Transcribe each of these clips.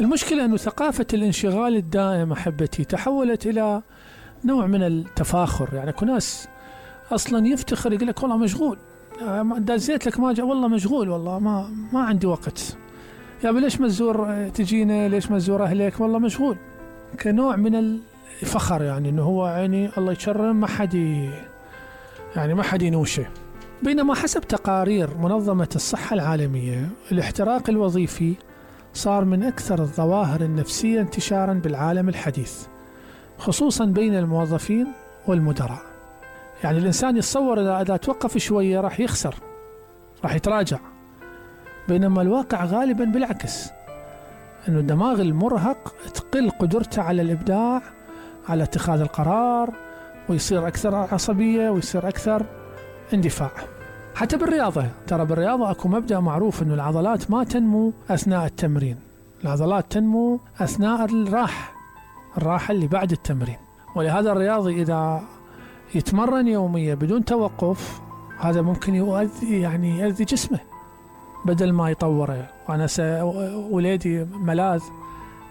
المشكلة أنه ثقافة الانشغال الدائم أحبتي تحولت إلى نوع من التفاخر. يعني كل ناس أصلا يفتخر يقول لك والله مشغول، دازيت لك ما جاء والله مشغول، والله ما عندي وقت. يا ليش ما تزور تجينا، ليش ما تزور أهلك، والله مشغول، كنوع من الفخر. يعني أنه هو يعني الله يكرم ما حد ينوشه. بينما حسب تقارير منظمة الصحة العالمية الاحتراق الوظيفي صار من أكثر الظواهر النفسية انتشارا بالعالم الحديث، خصوصا بين الموظفين والمدراء. يعني الإنسان يتصور إذا توقف شوية راح يخسر، راح يتراجع، بينما الواقع غالبا بالعكس، أنه الدماغ المرهق تقل قدرته على الإبداع، على اتخاذ القرار، ويصير أكثر عصبية ويصير أكثر اندفاع. حتى بالرياضة، ترى بالرياضة أكو مبدأ معروف أنه العضلات ما تنمو أثناء التمرين، العضلات تنمو أثناء الراحة اللي بعد التمرين. ولهذا الرياضي إذا يتمرن يوميا بدون توقف هذا ممكن يؤذي جسمه بدل ما يطوره. وأنا وليدي ملاذ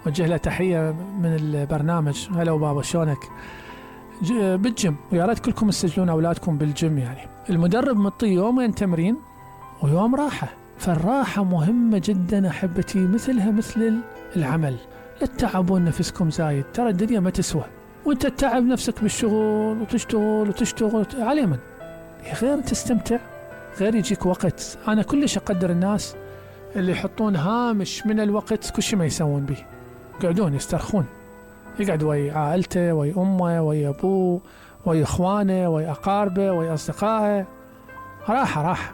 وجه له تحية من البرنامج، هلا وبابا شلونك، بالجيم، ويا ريت كلكم تسجلون أولادكم بالجيم. يعني المدرب مطي يومين تمرين ويوم راحة، فالراحة مهمة جدا أحبتي، مثلها مثل العمل. لا تتعبون نفسكم زايد، ترى الدنيا ما تسوى، وانت تتعب نفسك بالشغل وتشتغل على من غير تستمتع، غير يجيك وقت. أنا كلش أقدر الناس اللي يحطون هامش من الوقت كل شيء ما يسوون به، يقعدون يسترخون، يقعد ويا عائلته، ويا أمه، ويا أبوه، ويا إخوانه، ويا أقاربه، ويا أصدقائه، راحة.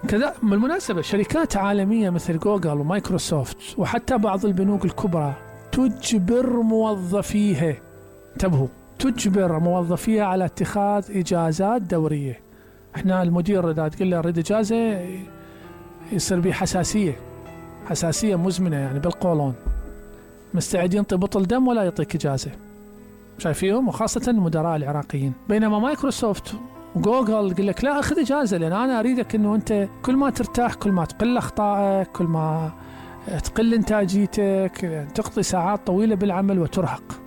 كذا بالمناسبة شركات عالمية مثل جوجل ومايكروسوفت وحتى بعض البنوك الكبرى تجبر موظفيها، انتبهوا، تجبر موظفيها على اتخاذ إجازات دورية. احنا المدير إذا تقول له أريد إجازة يصير به حساسية مزمنة، يعني بالقولون، مستعد ينطي بطل دم ولا يعطيك إجازة. شايفيهم، وخاصة المدراء العراقيين. بينما مايكروسوفت وجوجل يقول لك لا أخذ إجازة، لأن أنا أريدك أنه أنت كل ما ترتاح كل ما تقل أخطائك، كل ما تقل إنتاجيتك، تقضي ساعات طويلة بالعمل وترهق.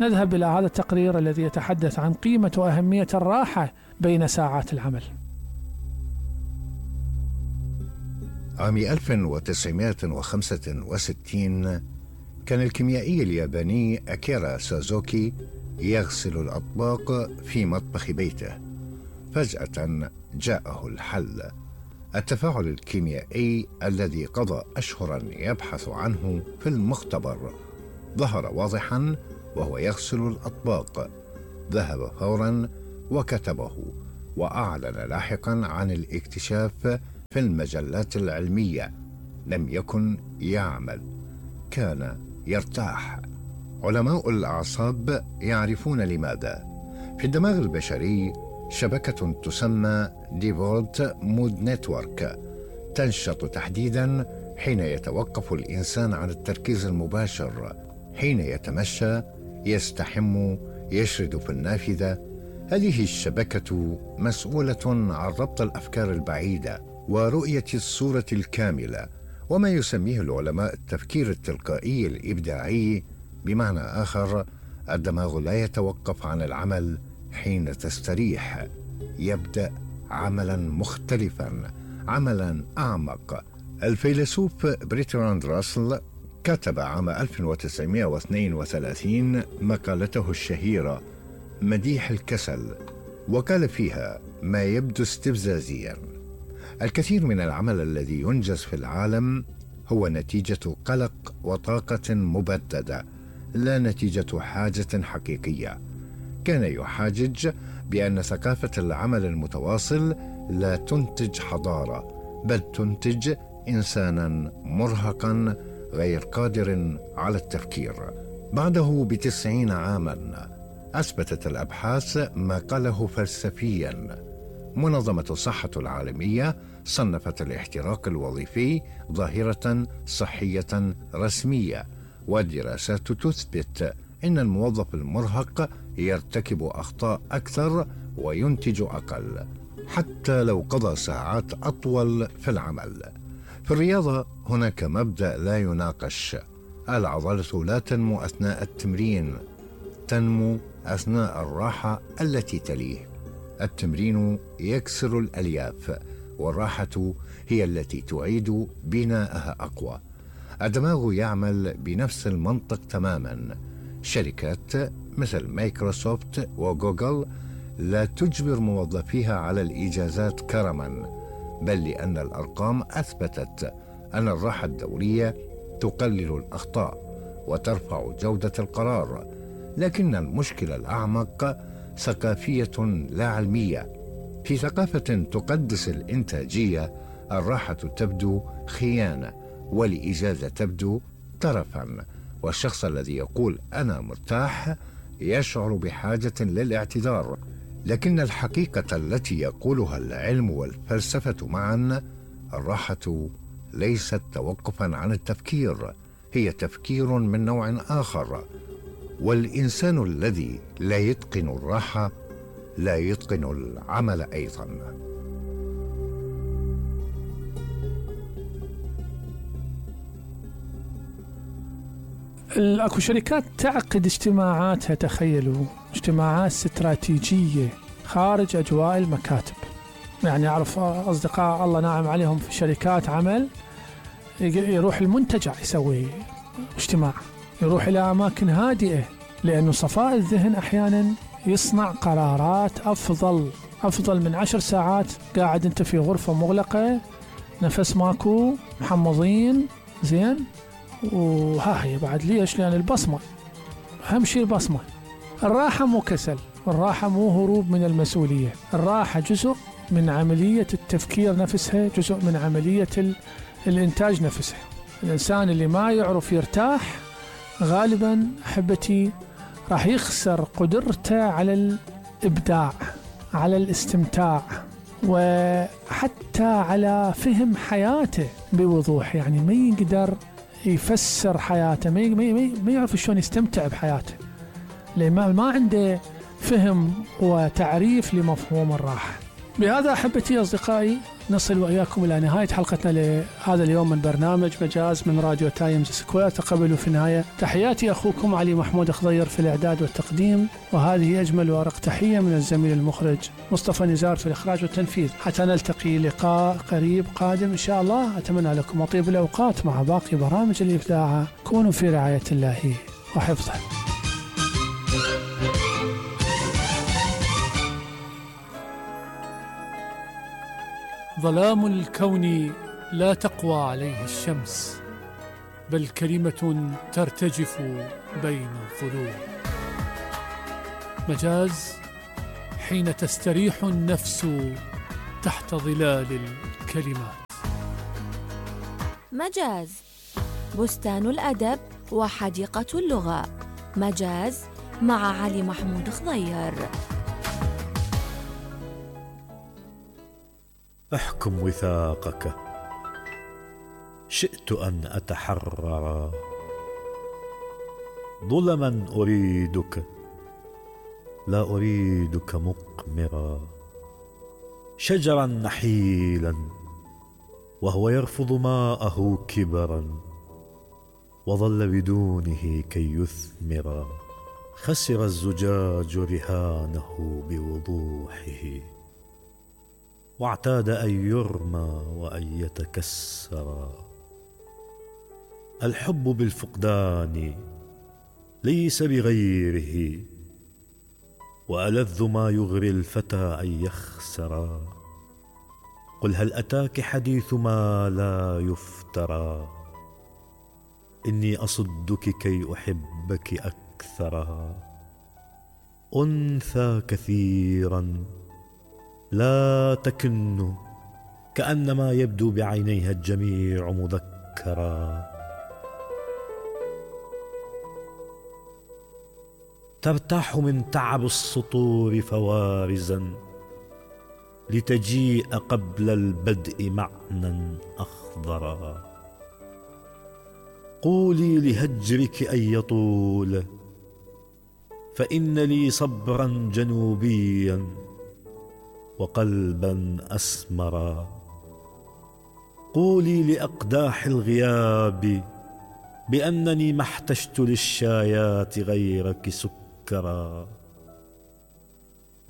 نذهب إلى هذا التقرير الذي يتحدث عن قيمة وأهمية الراحة بين ساعات العمل. عام 1965 كان الكيميائي الياباني أكيرا سازوكي يغسل الأطباق في مطبخ بيته. فجأة جاءه الحل، التفاعل الكيميائي الذي قضى أشهرا يبحث عنه في المختبر ظهر واضحا وهو يغسل الأطباق. ذهب فورا وكتبه، وأعلن لاحقا عن الاكتشاف في المجلات العلمية. لم يكن يعمل، كان يرتاح. علماء الأعصاب يعرفون لماذا. في الدماغ البشري شبكة تسمى ديفولت مود نتورك تنشط تحديدا حين يتوقف الإنسان عن التركيز المباشر، حين يتمشى، يستحم، يشرد في النافذة. هذه الشبكة مسؤولة عن ربط الأفكار البعيدة ورؤية الصورة الكاملة، وما يسميه العلماء التفكير التلقائي الإبداعي. بمعنى آخر، الدماغ لا يتوقف عن العمل حين تستريح، يبدأ عملا مختلفا، عملا أعمق. الفيلسوف برتراند راسل كتب عام 1932 مقالته الشهيرة مديح الكسل، وقال فيها ما يبدو استفزازيا: الكثير من العمل الذي ينجز في العالم هو نتيجة قلق وطاقة مبددة، لا نتيجة حاجة حقيقية. كان يحاجج بأن ثقافة العمل المتواصل لا تنتج حضارة، بل تنتج إنسانا مرهقا غير قادر على التفكير. بعده ب90 عاما أثبتت الأبحاث ما قاله فلسفيا. منظمة الصحة العالمية صنفت الاحتراق الوظيفي ظاهرة صحية رسمية، والدراسات تثبت أن الموظف المرهق يرتكب أخطاء أكثر وينتج أقل، حتى لو قضى ساعات أطول في العمل. في الرياضة هناك مبدأ لا يناقش: العضلة لا تنمو أثناء التمرين، تنمو أثناء الراحة التي تليه. التمرين يكسر الألياف، والراحة هي التي تعيد بناءها أقوى. الدماغ يعمل بنفس المنطق تماما. شركات مثل مايكروسوفت وجوجل لا تجبر موظفيها على الإجازات كرما، بل لأن الأرقام أثبتت أن الراحة الدورية تقلل الأخطاء وترفع جودة القرار. لكن المشكلة الأعمق ثقافية لا علمية. في ثقافة تقدس الإنتاجية، الراحة تبدو خيانة، والإجازة تبدو ترفا، والشخص الذي يقول أنا مرتاح يشعر بحاجة للاعتذار. لكن الحقيقة التي يقولها العلم والفلسفة معا، الراحة ليست توقفا عن التفكير، هي تفكير من نوع آخر. والإنسان الذي لا يتقن الراحة لا يتقن العمل أيضا. اكو شركات تعقد اجتماعاتها، تخيلوا، اجتماعات استراتيجية خارج أجواء المكاتب. يعني أعرف أصدقاء الله ناعم عليهم في شركات عمل، يروح المنتجع يسوي اجتماع، يروح إلى أماكن هادئة، لأنه صفاء الذهن أحيانا يصنع قرارات أفضل من 10 ساعات قاعد أنت في غرفة مغلقة، نفس ماكو، محمضين زين. وها هي بعد ليش؟ لأن البصمة أهم شيء. البصمة. الراحة مو كسل، الراحة مو هروب من المسؤولية، الراحة جزء من عملية التفكير نفسها، جزء من عملية الإنتاج نفسها. الإنسان اللي ما يعرف يرتاح غالبا أحبتي راح يخسر قدرته على الإبداع، على الاستمتاع، وحتى على فهم حياته بوضوح. يعني ما يقدر يفسر حياته، ما يعرف شلون يستمتع بحياته، لأن ما عنده فهم وتعريف لمفهوم الراحة. بهذا أحبتي أصدقائي نصل وإياكم إلى نهاية حلقتنا لهذا اليوم من برنامج مجاز من راديو تايمز سكوير. تقبلوا في النهاية تحياتي أخوكم علي محمود خضير في الإعداد والتقديم، وهذه أجمل وأرق تحية من الزميل المخرج مصطفى نزار في الإخراج والتنفيذ. حتى نلتقي لقاء قريب قادم إن شاء الله. أتمنى لكم طيب الأوقات مع باقي برامج الإبداع. كونوا في رعاية الله وحفظه. ظلام الكون لا تقوى عليه الشمس، بل كلمة ترتجف بين الظلوم. مجاز حين تستريح النفس تحت ظلال الكلمات. مجاز بستان الأدب وحديقة اللغة. مجاز مع علي محمود خضير. احكم وثاقك، شئت أن أتحرر. ظلما أريدك، لا أريدك مقمرا. شجرا نحيلا وهو يرفض ماءه كبرا، وظل بدونه كي يثمر. خسر الزجاج رهانه بوضوحه، واعتاد أن يرمى وأن يتكسر. الحب بالفقدان ليس بغيره، وألذ ما يغري الفتى أن يخسر. قل هل أتاك حديث ما لا يفترى، إني أصدك كي أحبك أكثر. أنثى كثيرا لا تكن، كأنما يبدو بعينيها الجميع مذكرا. ترتاح من تعب السطور فوارزا، لتجيء قبل البدء معنى أخضرا. قولي لهجرك أن يطول، فإن لي صبرا جنوبيا وقلبا أسمرا. قولي لأقداح الغياب بأنني ما احتجت للشايات غيرك سكرا.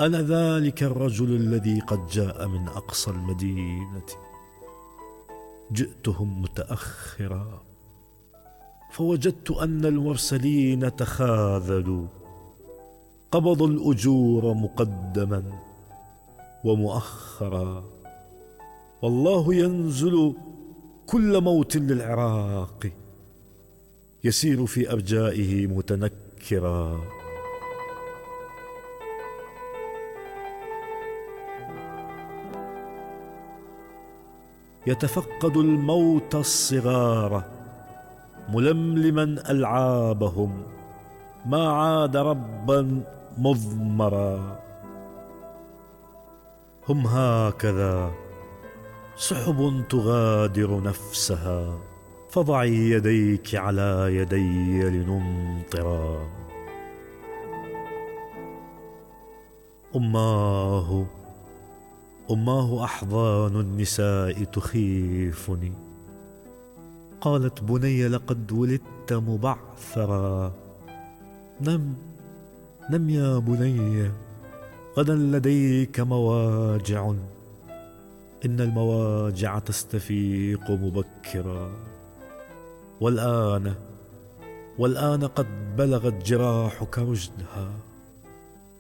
أنا ذلك الرجل الذي قد جاء من أقصى المدينة، جئتهم متأخرا فوجدت أن المرسلين تخاذلوا، قبضوا الأجور مقدما ومؤخرا. والله ينزل كل موت للعراق، يسير في أرجائه متنكرا. يتفقد الموت الصغار ململما ألعابهم، ما عاد ربا مضمرا. هم هكذا سحب تغادر نفسها، فضعي يديك على يدي لنمطرا. أماه أحضان النساء تخيفني، قالت بني لقد ولدت مبعثرا. نم يا بني، غدا لديك مواجع، إن المواجع تستفيق مبكرا. والآن قد بلغت جراحك رشدها،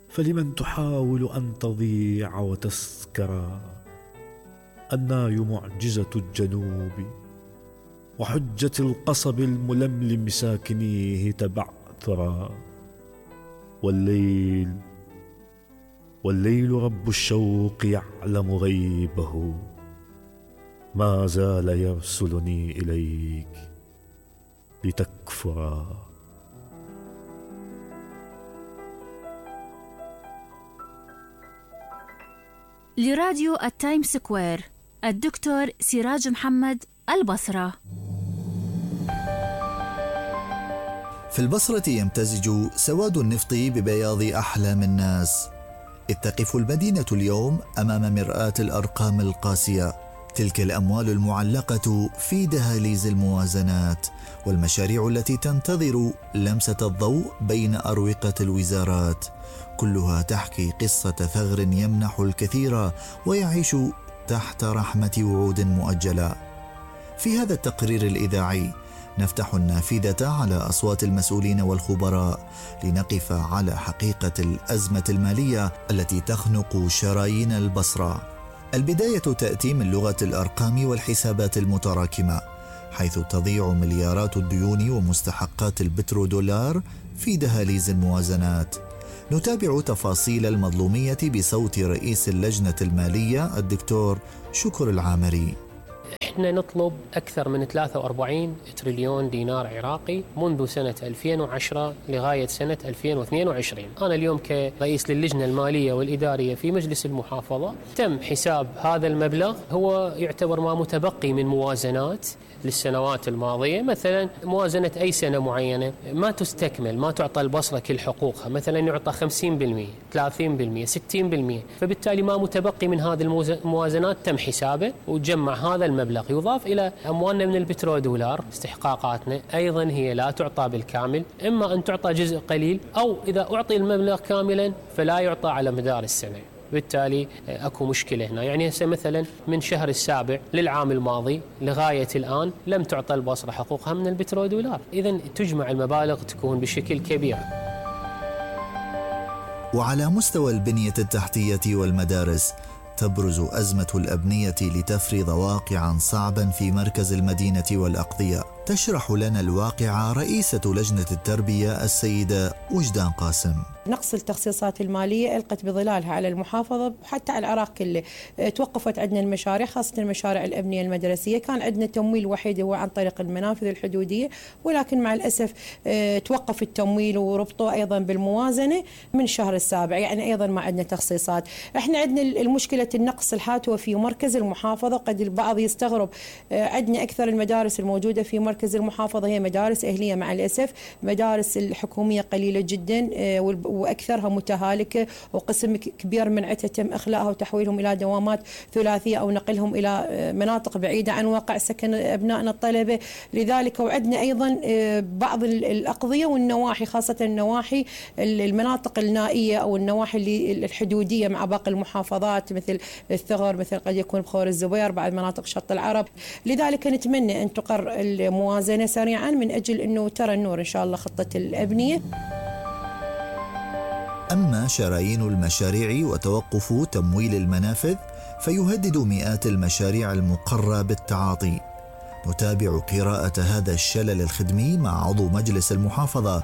فلمن تحاول أن تضيع وتسكرا. الناي معجزة الجنوب، وحجة القصب الململم ساكنيه تبعثرا. والليل رب الشوق يعلم غيبه، ما زال يرسلني إليك لتكفرا. لراديو التايم سكوير، الدكتور سراج محمد، البصرة. في البصرة يمتزج سواد النفط ببياض أحلام الناس، إذ تقف المدينة اليوم أمام مرآة الأرقام القاسية، تلك الأموال المعلقة في دهاليز الموازنات، والمشاريع التي تنتظر لمسة الضوء بين أروقة الوزارات، كلها تحكي قصة ثغر يمنح الكثير ويعيش تحت رحمة وعود مؤجلة. في هذا التقرير الإذاعي نفتح النافذة على أصوات المسؤولين والخبراء لنقف على حقيقة الأزمة المالية التي تخنق شرايين البصرة. البداية تأتي من لغة الأرقام والحسابات المتراكمة، حيث تضيع مليارات الديون ومستحقات البترودولار في دهاليز الموازنات. نتابع تفاصيل المظلومية بصوت رئيس اللجنة المالية الدكتور شكر العامري. احنا نطلب أكثر من 43 تريليون دينار عراقي منذ سنة 2010 لغاية سنة 2022. أنا اليوم كرئيس للجنة المالية والإدارية في مجلس المحافظة تم حساب هذا المبلغ، هو يعتبر ما متبقي من موازنات للسنوات الماضية. مثلا موازنة أي سنة معينة ما تستكمل، ما تعطى البصرة كل حقوقها، مثلا يعطى 50%، 30%، 60%، فبالتالي ما متبقي من هذه الموازنات تم حسابه وتجمع هذا المبلغ، يضاف إلى أموالنا من البترودولار. استحقاقاتنا أيضا هي لا تعطى بالكامل، إما أن تعطى جزء قليل، أو إذا أعطي المبلغ كاملا فلا يعطى على مدار السنة. بالتالي أكو مشكلة هنا. يعني هسه مثلا من شهر السابع للعام الماضي لغاية الآن لم تعطى البصرة حقوقها من البترودولار، إذن تجمع المبالغ تكون بشكل كبير. وعلى مستوى البنية التحتية والمدارس تبرز أزمة الأبنية لتفرض واقعا صعبا في مركز المدينة والأقضية. تشرح لنا الواقع رئيسة لجنة التربية السيدة وجدان قاسم. نقص التخصيصات المالية ألقت بظلالها على المحافظة وحتى على العراق كله. توقفت عندنا المشاريع، خاصة المشاريع الأبنية المدرسية. كان عندنا تمويل وحيد هو عن طريق المنافذ الحدودية، ولكن مع الأسف توقف التمويل وربطه أيضا بالموازنة من شهر السابع، يعني أيضا ما عندنا تخصيصات. احنا عندنا المشكلة النقص الحاتوة في مركز المحافظة. قد البعض يستغرب، عندنا أكثر المدارس الموجودة في مركز مركز المحافظة هي مدارس أهلية مع الأسف. مدارس الحكومية قليلة جدا وأكثرها متهالكة، وقسم كبير من عدة تم إخلاءها وتحويلهم إلى دوامات ثلاثية أو نقلهم إلى مناطق بعيدة عن واقع سكن أبنائنا الطلبة. لذلك وعدنا أيضا بعض الأقضية والنواحي، خاصة النواحي المناطق النائية أو النواحي الحدودية مع باقي المحافظات مثل الثغر، مثل قد يكون بخور الزبير، بعد مناطق شط العرب. لذلك نتمنى أن تقر الموازنة سريعا من أجل أنه ترى النور إن شاء الله خطة الأبنية. أما شرايين المشاريع وتوقف تمويل المنافذ فيهدد مئات المشاريع المقرة بالتعاطي. نتابع قراءة هذا الشلل الخدمي مع عضو مجلس المحافظة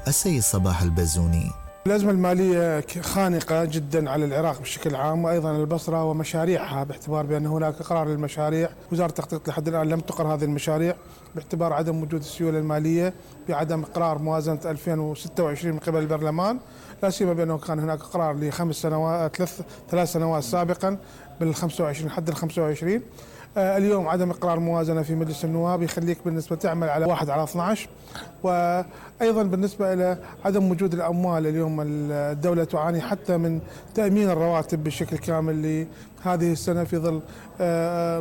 السيد صباح البزوني. الأزمة المالية خانقة جدا على العراق بشكل عام وأيضا البصرة ومشاريعها، باعتبار بأن هناك قرار للمشاريع. وزارة التخطيط لحد الآن لم تقر هذه المشاريع باعتبار عدم وجود السيولة المالية، بعدم إقرار موازنة 2026 من قبل البرلمان، لا سيما بأنه كان هناك قرار ثلاث سنوات سابقا بال25 حد ال25. اليوم عدم إقرار موازنة في مجلس النواب يخليك بالنسبة تعمل على 1/12. وأيضا بالنسبة إلى عدم وجود الأموال، اليوم الدولة تعاني حتى من تأمين الرواتب بشكل كامل لهذه السنة في ظل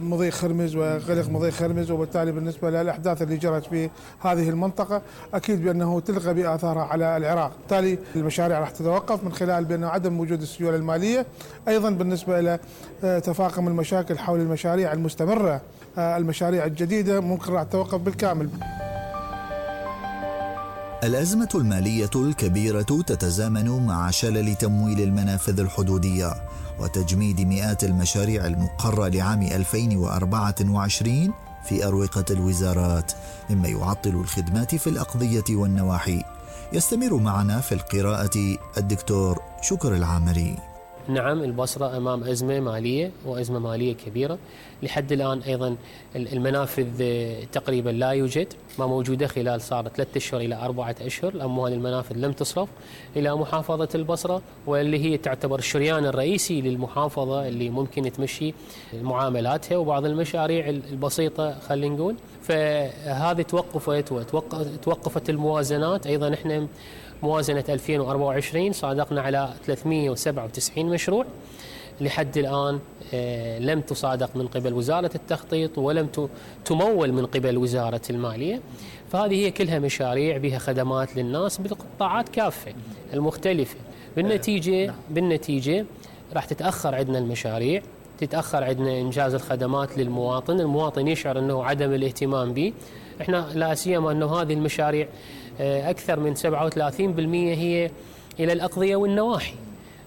مضيق خرمز وغلق مضيق خرمز، وبالتالي بالنسبة للأحداث اللي جرت في هذه المنطقة أكيد بأنه تلغى بآثارها على العراق. بالتالي المشاريع راح تتوقف من خلال بأنه عدم وجود السيولة المالية. أيضا بالنسبة إلى تفاقم المشاكل حول المشاريع المستمرة، المشاريع الجديدة ممكن راح تتوقف بالكامل. الأزمة المالية الكبيرة تتزامن مع شلل تمويل المنافذ الحدودية وتجميد مئات المشاريع المقرة لعام 2024 في أروقة الوزارات، مما يعطل الخدمات في الأقضية والنواحي. يستمر معنا في القراءة الدكتور شكر العامري. نعم، البصرة أمام أزمة مالية وأزمة مالية كبيرة. لحد الآن أيضا المنافذ تقريبا لا يوجد، ما موجودة خلال صار 3 أشهر إلى 4 أشهر. الأموال المنافذ لم تصرف إلى محافظة البصرة، واللي هي تعتبر الشريان الرئيسي للمحافظة اللي ممكن تمشي معاملاتها وبعض المشاريع البسيطة خلينا نقول. فهذه توقفت الموازنات. أيضا إحنا موازنة 2024 صادقنا على 397 مشروع، لحد الآن لم تصادق من قبل وزارة التخطيط ولم تمول من قبل وزارة المالية. فهذه هي كلها مشاريع بها خدمات للناس بالقطاعات كافة المختلفة. بالنتيجة راح تتأخر عندنا المشاريع، تتأخر عندنا إنجاز الخدمات للمواطن. المواطن يشعر أنه عدم الاهتمام به. إحنا لا سيما أنه هذه المشاريع أكثر من 37% هي إلى الأقضية والنواحي.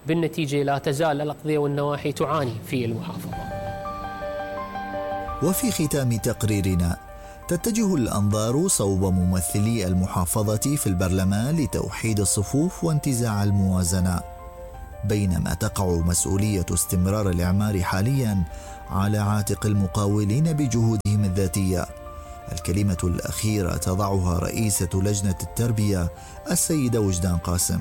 بالنتيجة لا تزال الأقضية والنواحي تعاني في المحافظة. وفي ختام تقريرنا تتجه الأنظار صوب ممثلي المحافظة في البرلمان لتوحيد الصفوف وانتزاع الموازنة، بينما تقع مسؤولية استمرار الإعمار حاليا على عاتق المقاولين بجهودهم الذاتية. الكلمة الأخيرة تضعها رئيسة لجنة التربية السيدة وجدان قاسم.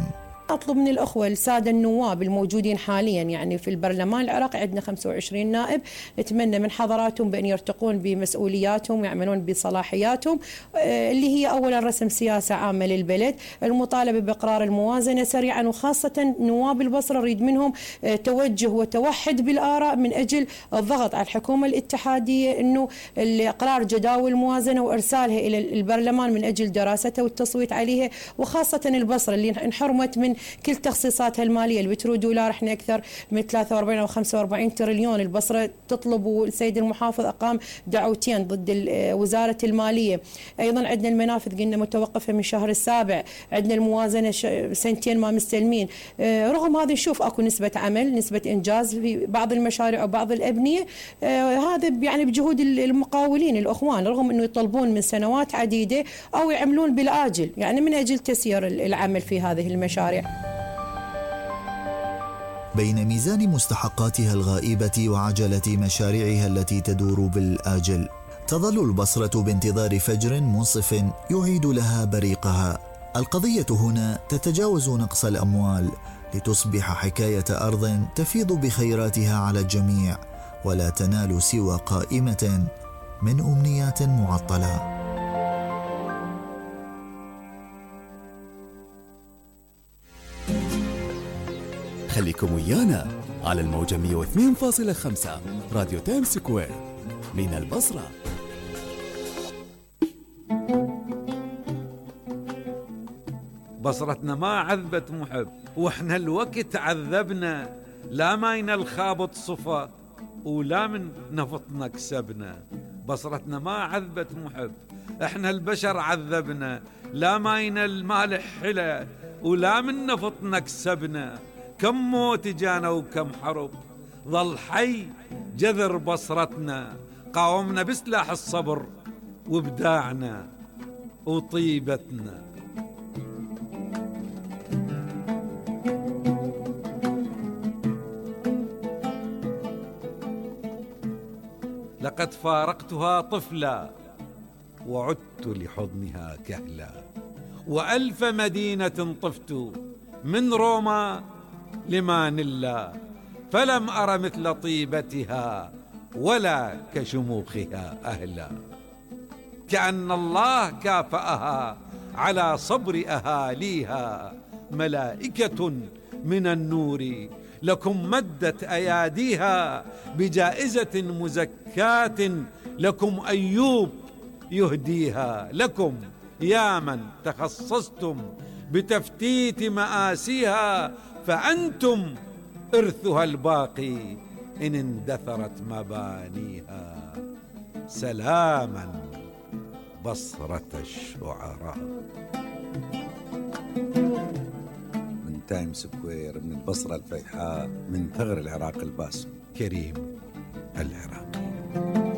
أطلب من الأخوة السادة النواب الموجودين حاليا يعني في البرلمان العراقي، عندنا 25 نائب، نتمنى من حضراتهم بأن يرتقون بمسؤولياتهم ويعملون بصلاحياتهم، اللي هي أولا رسم سياسة عامة للبلد، المطالبة بإقرار الموازنة سريعا، وخاصة نواب البصرة نريد منهم توجه وتوحد بالآراء من أجل الضغط على الحكومة الاتحادية أنه إقرار جداول الموازنة وإرسالها إلى البرلمان من أجل دراستها والتصويت عليها، وخاصة البصرة اللي انحرمت من كل تخصيصاتها المالية. البترو دولار احنا أكثر من 43 أو 45 تريليون. البصرة تطلب، والسيد المحافظ أقام دعوتين ضد وزارة المالية. أيضا عندنا المنافذ قلنا متوقفة من شهر السابع، عندنا الموازنة 2 سنين ما مستلمين. رغم هذا نشوف أكو نسبة عمل، نسبة إنجاز في بعض المشاريع وبعض الأبنية. هذا يعني بجهود المقاولين الأخوان، رغم أنه يطلبون من سنوات عديدة أو يعملون بالآجل يعني من أجل تسيير العمل في هذه المشاريع. بين ميزان مستحقاتها الغائبة وعجلة مشاريعها التي تدور بالآجل، تظل البصرة بانتظار فجر منصف يعيد لها بريقها. القضية هنا تتجاوز نقص الأموال لتصبح حكاية أرض تفيض بخيراتها على الجميع، ولا تنال سوى قائمة من أمنيات معطلة. خليكم ويانا على الموجة 102.5 راديو تايم سكوير من البصرة. بصرتنا ما عذبت محب واحنا الوقت عذبنا، لا ماينا الخابط صفا ولا من نفطنا كسبنا. بصرتنا ما عذبت محب احنا البشر عذبنا، لا ماينا المالح حلا ولا من نفطنا كسبنا. كم موت جانا وكم حرب ظل حي جذر بصرتنا، قاومنا بسلاح الصبر وابداعنا وطيبتنا. لقد فارقتها طفلا وعدت لحضنها كهلا، وألف مدينة طفت من روما لمانيلا، فلم أر مثل طيبتها ولا كشموخها أهلا. كأن الله كافأها على صبر أهاليها، ملائكة من النور لكم مدت أياديها، بجائزة مزكاة لكم أيوب يهديها. لكم يا من تخصصتم بتفتيت مآسيها، فأنتم إرثها الباقي إن اندثرت مبانيها. سلاما بصرة الشعراء. من تايم سكوير، من البصرة الفيحاء، من ثغر العراق الباسم، كريم العراق.